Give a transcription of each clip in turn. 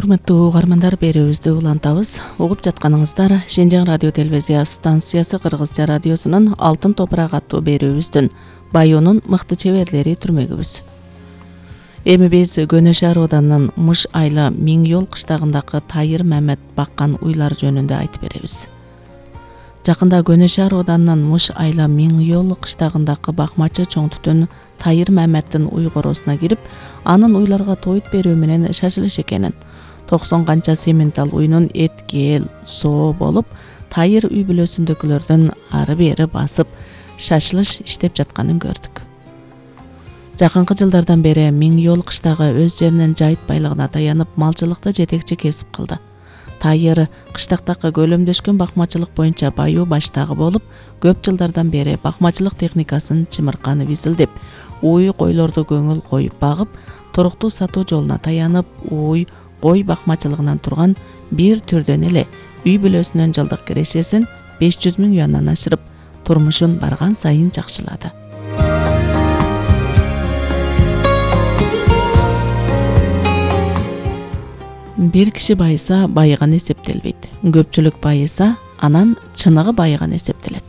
Урматтуу угармандар, берүүбүздү улантабыз. Угуп жатканыңыздар Шенжен радио телевизия станциясы Кыргызча радиосунун Алтын топурак аттуу берүүбүздүн Баюунун мыкты чеберлери түрмөгүбүз. Эми биз Көнө шаар ауданынын Мыш айла Миң Жол кыштагындагы Тайыр Мамет баккан уйлар жөнүндө айтып беребиз. Жакында Көнө шаар ауданынын Мыш айла Миң Жол кыштагындагы бакмачы чоң түтүн Тайыр Маметтин уй коросуна кирип, анын уйларга тоют берүү менен шашылыш экенин, 90 канча сементал уйнун эт, кeel, соо болуп, Тайыр үй бүлөсүндөгүлөрдүн ары бери басып, шашылыш иштеп жатканын көрдүк. Жакынкы жылдардан бери Миң Жол кыштагы өз жеринин жайыт байлыгына таянып, малчылыкты жетекчи кесип кылды. Тайыр кыштактагы көлөмдөшкөн бакмачылык боюнча баюу баштагы болуп, көп жылдардан бери бакмачылык техникасын чымырканып изилдеп, уй койлорду көңүл коюп багып, туруктуу сатуу жолуна таянып, уй кой бакмачылыгынан турган бир түрдөн эле үй бүлөсүнүн жылдык кирешесин 500 000 юандан ашырып, турмушун барган сайын жакшылады. Бир киши байыса, байыган эсептелбейт. Көпчүлүк байыса, анан чыныгы байыган эсептелет.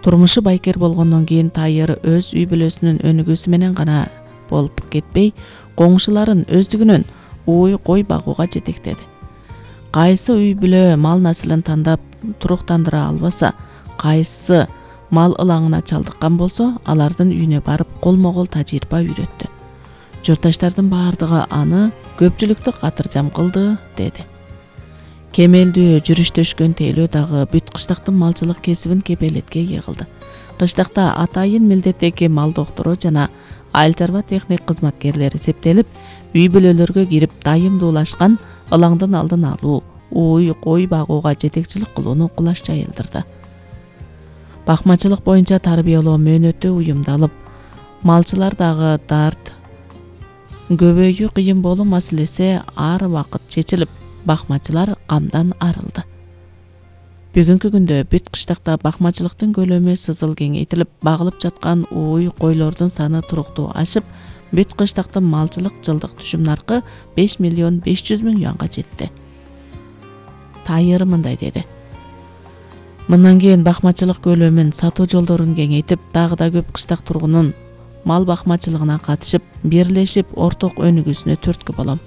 Турмушу байкер болгондон кийин Тайыр өз үй бүлөсүнүн өнүгүүсү менен гана болуп кетпей, коңшуларын өздүгүнөн уй кой багууга жетектеди. Кайсы үй бүлө мал насылын тандап туруктандыра албаса, кайсы мал ылаңына чалдыккан болсо, алардын үйүнө барып колмо-кол тажрыйба үйрөттү. Журтташтардын баардыгы аны көпчүлүктү катыржам кылды, деди. Кемелдүү жүрүштөшкөн тейлөө дагы бүт кыштактын малчылык кесибин кепелетке йыгылды. Кыштакта атайын милдеттеги мал доктору жана айыл чарба техник кызматкерлери эсептелип, үй бүлөлөргө кирип дайымдуулашкан ылаңдын алдын алуу, уй кой багууга жетекчилик кылууну кулаш жайылдырды. Бакмачылык боюнча тарбиялоо мөөнөтү уюмдалып, малчылар дагы дарт, көбөйүү кыйын болуу маселеси ар убакыт чечилип, бакмачылар камдан арылды. Бүгүнкү күндө бүт кыштакта бакмачылыктын көлөмү сызыл кеңейтилип, багылып жаткан уй койлордун саны туруктуу ашып, бүт кыштактын малчылык жылдык түшүм наркы 5 500 000 юанга жетти. Тайыр мындай деди. Мындан кийин бакмачылык көлөмүн, сатуу жолдорун кеңейтип, дагы да көп кыштак тургунун мал бакмачылыгына катышып, бирлешип орток өнүгүүсүнө түрткү болом.